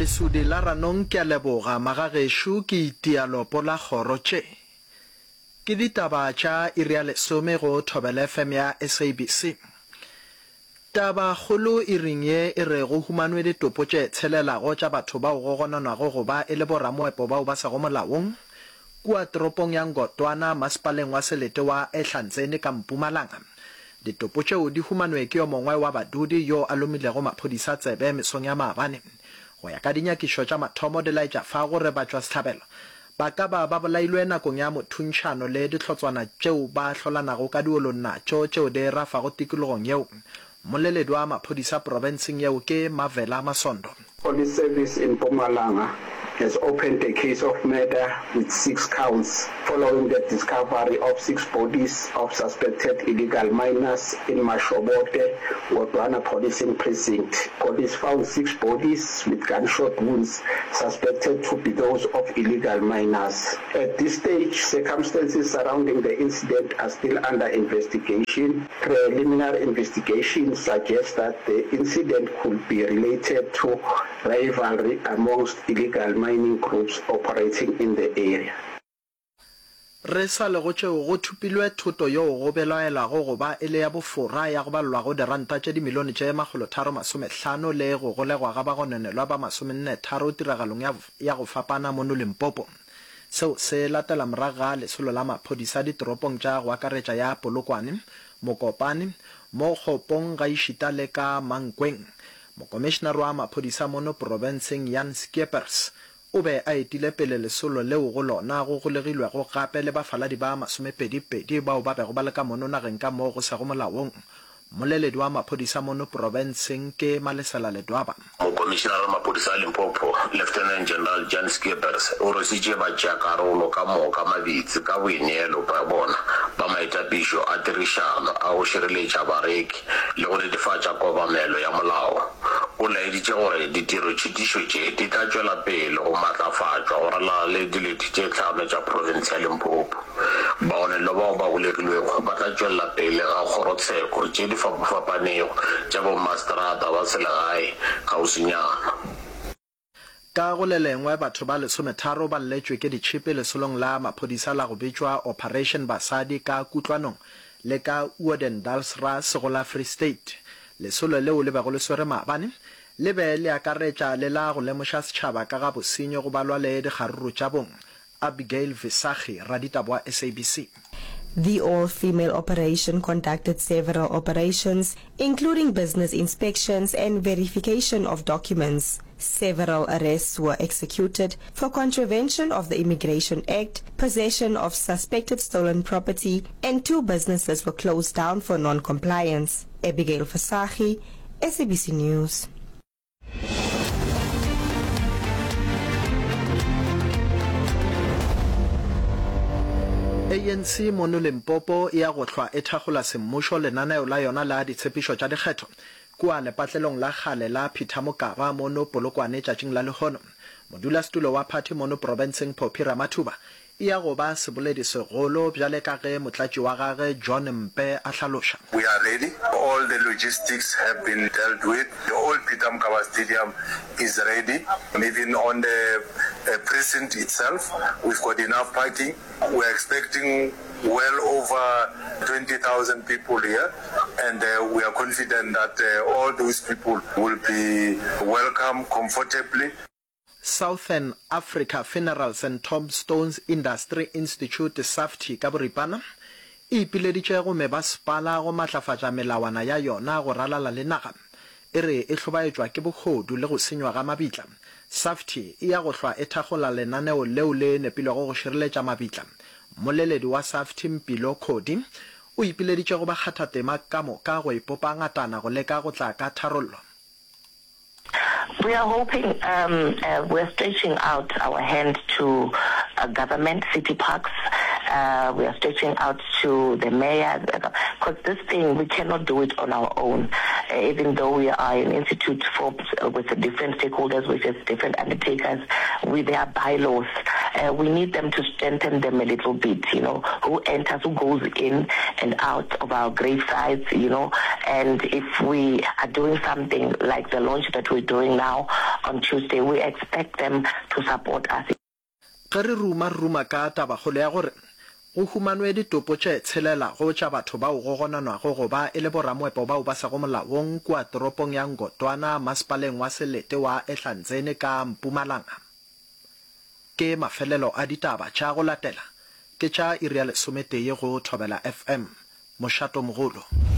Lesudi la Ranong ke a leboga magagešo ke itia lopo la kgoro tše. Ke ditaba tša iri ya lesome go Thobela FM ya SABC. Taba kgolo iring ye e re go humanwe ditopo tše tshelelago tša batho bao go gononwago go ba e le boramoepo bao ba sego molaong kua toropong ya Ngotwana masepaleng wa selete wa Ehlanzeni ka Mpumalanga. Ditopo tšeo di humanwe ke yo mongwe wa badudi yo a lomilego maphodisa tsebe mesong ya maabane. Go ya ka dinyakišo tša mathomo di laetša fa gore batšwasehlabelo ba ka ba ba bolailwe nakong ya mothuntšhano le dihlotswana tšeo ba hlolanago ka diolong natšo tšeo di rafago tikologong yeo. Mmoleledi wa maphodisa profenseng yeo ke Mavela Masondo. Police Service in Mpumalanga has opened a case of murder with six counts following the discovery of six bodies of suspected illegal miners in Mashobote, Ngodwana policing precinct. Police found six bodies with gunshot wounds suspected to be those of illegal miners. At this stage, circumstances surrounding the incident are still under investigation. Preliminary investigations suggest that the incident could be related to rivalry amongst illegal mining groups operating in the area. Re sa le go tšeo, go thupilwe thoto yeo go belaelwago go ba e le ya bofora ya go balelwago diranta tše dimilione tše makgolotharo-masomehlano le go golegwa ga bagononelwa ba masomenne-tharo tiragalong ya ya go fapana mono Limpopo. Seo se latela morago ga lesolo la maphodisa ditoropong tša go akaretša ya Polokwane, Mokopane, Mokgopong gaešita le ka Mankweng. Mokomišenare wa maphodisa mono profenseng Jan Scheepers o be a etile pele lesolo leo go lona go golegilwego gape le bafaladi ba masomepedi-pedi bao ba bego ba le ka mono nageng ka moo go sego molaong. Mmoleledi wa maphodisa mono profenseng ke Malesela Ledwaba. Mokomišenare wa maphodisa a Limpopo, Lieutenant General Jan Scheepers, o rwesitše batšeakarolo ka moka mabitsi ka boineelo bja bona ba maitapišo a tirišano a go šireletša bareki le go netefatša kobamelo ya molao. O laeditše gore ditirotšhitišo tše di tla tšwela pele go matlafatšwa go ralala le dilete tše tlhano tša profense ya Limpopo. Bagonelwa bao ba golegilwego ba tla tšwelela pele ga kgorotsheko tše di fapafapanego tša bommaseterata ba selegae kgauswinyana. Ka go le lengwe, batho ba lesometharo ba lletšwe ke ditšhipi lesolong la maphodisa la go bitšwa Operation Basadi ka Kutlwanong le ka Oudendalsrus go la Free State. Lesolo leo le bego le swere maabane le be le akaretša le la go lemoša setšhaba ka ga bosenyi go balwa le dikgaruru tša bong. Abigail Visagie, raditaba wa SABC. The all-female operation conducted several operations, including business inspections and verification of documents. Several arrests were executed for contravention of the Immigration Act, possession of suspected stolen property, and two businesses were closed down for non-compliance. Abigail Visagie, SABC News. ANC mono Limpopo e ya go hlwa e thakgola semmušo lenaneo la yona la ditshepišo tša dikgetho kua lepatlelong la kgale la Peter Mokaba mono Polokwane tšatšing la lehono. Modulasetulo wa phathi mono profenseng Phophi Ramathuba E ya go ba seboledi segolo bjale ka ge motlatši wa gage John Mpe a hlaloša. We are ready, all the logistics have been dealt with, the old Peter Mokaba Stadium is ready, even on the precinct itself we've got enough parking, we are expecting well over 20,000 people here and we are confident that all those people will be welcome comfortably. Southern Africa Funerals and Tombstones Industry Institute, SAFTI, ka boripana, e ipileditše go mebasepala go matlafatša melawana ya yona go ralala le naga. E re e hlobaetšwa ke bohodu le go senywa ga mabitla. SAFTI e ya go hlwa e thakgola lenaneo leo le nepilwego go šireletša mabitla. Mmoleledi wa SAFTI Mpilo Khodi o ipileditše go bakgathatema ka moka go ipopa ngatana go leka go tla ka tharollo. We are hoping, um, uh, we're stretching out our hand to uh, government, city parks. Uh, we are stretching out to the mayor, because this thing, we cannot do it on our own. Uh, even though we are an institute formed with different stakeholders, which is different undertakers, with their bylaws, uh, we need them to strengthen them a little bit, you know, who enters, who goes in and out of our grave sites, you know, and if we are doing something like the launch that we're doing now on Tuesday. We expect them to support us. Ge re ruma re ruma ka tabakgolo ya gore go humanwe ditopo tše tshelelago tša batho bao go gononwago go ba e le boramoepo bao ba sego molaong kua toropong ya Ngotwana masepaleng wa selete wa Ehlanzeni ka Mpumalanga. Ke mafelelo a ditaba tša go latela ke tša iri ya lesometee go Thobela FM. Mošatomogolo.